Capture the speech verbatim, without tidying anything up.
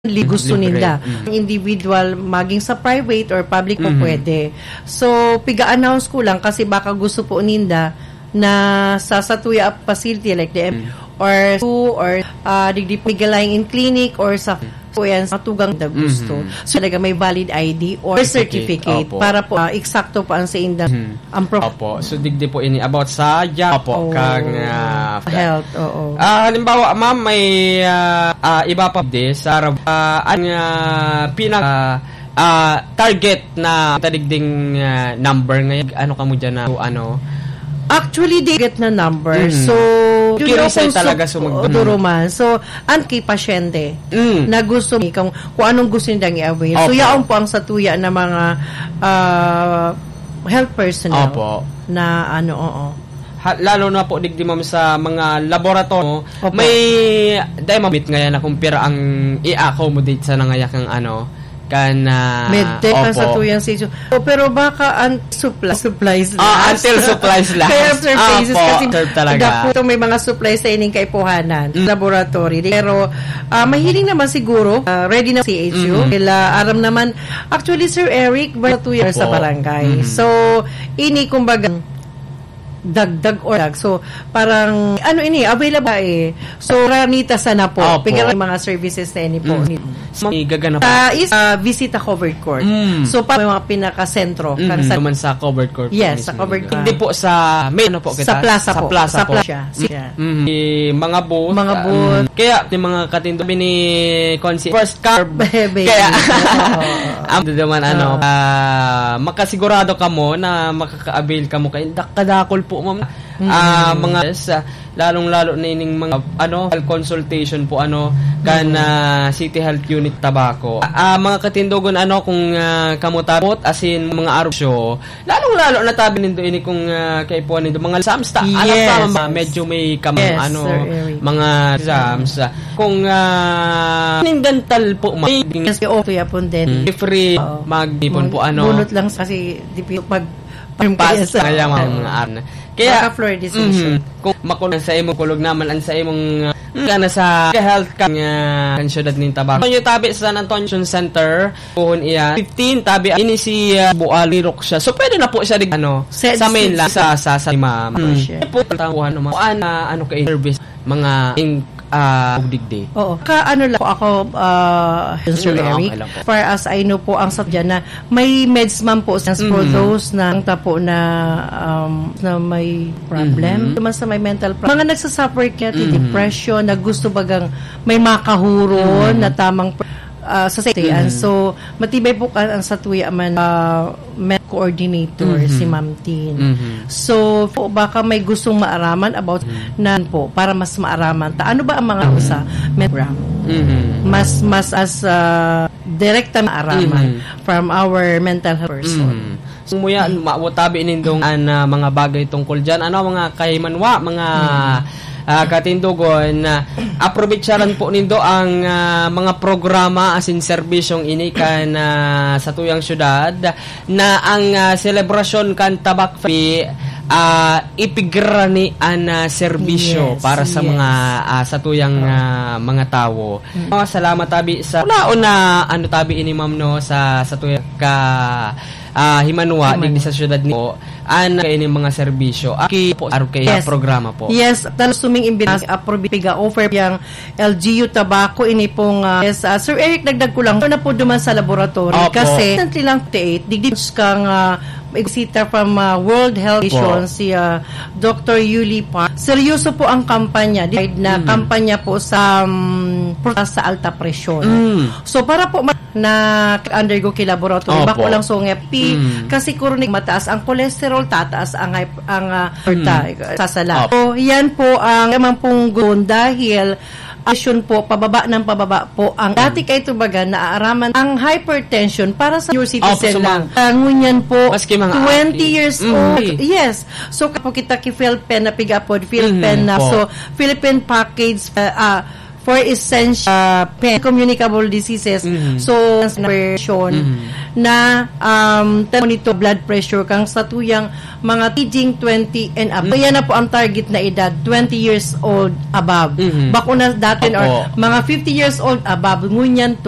li-, gusto Libre. ninda. Mm. Individual, maging sa private or public po Mhm. pwede. So, piga-announce ko lang kasi baka gusto po ninda na sa satuya facility like the M Mm. or two or, ah, digdi po Migalayng in clinic or sa Mm. po yan, sa tugang na gusto. Mhm. So, talaga may valid I D or Certificate. certificate Opo. para po, ah, eksakto po ang sa inda, Mhm. ang prof- Opo. So, digdi po ini about sa job. Opo, Oh. kang, ah, Health, oo. Ah, halimbawa, ma'am, may, ah, ah, iba pa di sa, ah, ang, ah, pinaka, ah, target na tadigding, ah, number ngayon. Ano ka mo dyan na, ano? Actually, di target na number. Mm. So, yun Curious yung ay talaga kung sum-, sumag-, o, duro man. So, ang kay pasyente Mm. na gusto ni kung, kung anong gusto niyang i-avail. So, Opo. yaon po ang satuya na mga, ah, health personnel Opo. na ano, oo. Ha, lalo na po, digdi, ma'am, sa mga laboratory, Opo. may, dahil mamit ngayon na kung pira ang i-accommodate sa nangayakang ano, kan, ah, Medtech ang opo. satuyang sitio. Oh, pero baka ang supply, supplies Ah, last. until supplies last. Kaya after Opo, phases kasi serve talaga. dapat may mga supplies sa ining kaipuhanan, Mm. laboratory. Pero, ah, mahiling naman siguro, ah, ready na C H U. Mm. Sila, aram naman, actually, Sir Eric, ba two years sa Opo. barangay. Mm. So, ini, kumbaga, dagdag or dag. So, parang, ano ini, available eh. So, ranita sana po. Opo. Piga lang mga services na ini po. Mm. Ni- May gaganap. Sa is, ah, Visita Covered Court. Mm. So, pa may mga pinakasentro. Mm. Kan sa Naman sa covered court Yes, mismo sa covered dito. court. Hindi po sa main, ano po Sa kita? plaza Sa po. plaza Sa po. plaza. Mm. Sige. Mm. Yung mga booth, Mga ah, booth. mm. Kaya, yung mga katindo, ni Consi, first curb. Baby. Kaya, Oo. ang duduman, ano, Ah. ah, makasigurado ka mo na makaka-avail ka mo kay dak-, kadakol po, ma'am. Mm. Ah, mga, yes, ah, lalong-lalo na ining mga, ano, health consultation po, ano, kan, Mm. ah, City Health Unit Tabaco. Ah, mga katindogon, ano, kung, ah, kamo tapot, as in, mga arosyo, lalong-lalo na tabi nindo ini kung, ah, kaipuhan nindo, mga exams ta. Alam Yes, ka, ma-, yes. medyo may kam-, Yes, ano, Sir Eric. mga exams, ah, kung, ah, ninggantal po, ma-, Yes, okay, apon din. Mm. Free, Oo. mag-ipon po, Bun-, ano. bunot lang sa kasi, di pi-, pag, Pas, Yes, kaya oo. mga, mga ano. Kaya, Baka floor decision. mhm, kung makulog sa imong kulog naman, ang sa imong, ah, ka na sa health ka, nga, kan syudad nin Tabaco. Kung yung tabi sa San Antonio Center, puhon iyan. Fifteen, tabi, ini si, ah, Bual, Mirok siya. So, pwede na po siya, di, ano, Sa sa main district. lang, sa, sa, sa ma'am. Opo, Hmm. siya. Ito po, ang tawahan ng mga, ano, ano ka, service, mga, ing-, ah, ugdigdi. Oo. Ka, ano lang po ako, ah, Sir Mm, Eric, okay lang po. far as I know po, ang sa dyan na may meds man po, since for Mm. those na, ang tapo na, um, na may problem, Mm-hmm. naman sa may mental problem. Mga nagsasuffer kaya, Mm-hmm. depression, na gusto bagang may makahuron Mm-hmm. na tamang pr-, ah, sa safety. And Mm-hmm. so, matibay po ka, ang satuya man, ah, med coordinator, Mm-hmm. si Ma'am Tin. Mm-hmm. So, po, baka may gustong maaraman about Mm-hmm. nan po, para mas maaraman ta. Ano ba ang mga Mm-hmm. sa med program? Mm-hmm. Mas, mas as, ah, direkta maaraman Mm-hmm. from our mental health person. Mm-hmm. So, muya, ma-, tabi nindong an, ah, mga bagay tungkol dyan. Ano, mga kahimanwa, mga, Mm-hmm. ah, katindogon, ah, aprovecharhan po nindo ang, ah, mga programa asin serbisyong ini kan, ah, satuyang syudad na ang, ah, selebrasyon kan Tabak Fest, ah, ipigrani an, ah, serbisyo Yes, para sa yes. mga, ah, satuyang, Oo. ah, mga tawo. Mm. Oh, salamat tabi sa una-una, ano, tabi ini, ma'am, no, sa, sa tuya ka, ah, himanwa, Himanwa. digdi sa syudad ni po, an, kay ini mga serbisyo. Aki po, aro kay Yes. programa po. Yes, talos tuming imbitahan, approve piga offer yang L G U Tabaco, ini pong, ah, yes, ah, Sir Eric, dagdag ko lang, na po duman sa laboratory. Opo. Kasi, recently lang, update, digdi kang, ah, exeter from, ah, World Health Opo. Organization, si, ah, Doctor Yuli Park. Seryoso po ang kampanya. Decide na Mm. kampanya po sa, um, protesta sa alta presyon. Mm. So, para po ma-, na undergo ki laboratory, Opo. bako lang sungit. Pi-, Mm. kasi kuro ni mataas ang cholesterol, tataas ang hyp-, ang, ah, Mm. ta-, sasala. Opo. So, yan po ang naman pong gun dahil aksyon po, pababa ng pababa po ang Mm. dati kay tubagan na aaraman ang hypertension para sa senior citizen Opo, sa lang. mga Ah, ngunyan po, Maski mga twenty aki. years Mm. old. Yes. So, kapo kita ki Philpen na pigapod, Philpen Mm, na. po. So, Philippine package, ah, ah, for essential uh, pen- communicable diseases. Mhm. So, version Mhm. na um, monitor blood pressure kang sa tuyang mga aging twenty and above. So, yan na po ang target na edad, twenty years old above. Mhm. Bakuna dati or Opo. mga fifty years old above, ngunyan